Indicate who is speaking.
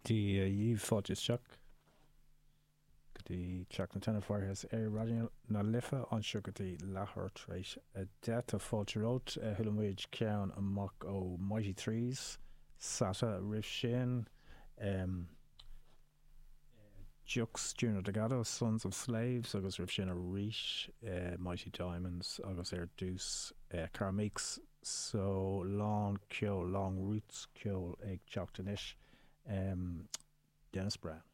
Speaker 1: Dia dhaoibh, fáilte isteach go dtí Teach na Teineadh Firehouse ar Raidió na Life anseo go dtí leathuair tar éis 10. Tá fáilte romhat. Chuala muid ceann amach ó Mighty Threes, Sata roimh sin. Jux, Junior Delgado, Sons of Slaves agus roimh sin arís Mighty Diamonds agus ar dtús Carl Meeks. So lán ceol, lán roots ceol ag teacht anois. Dennis Brown.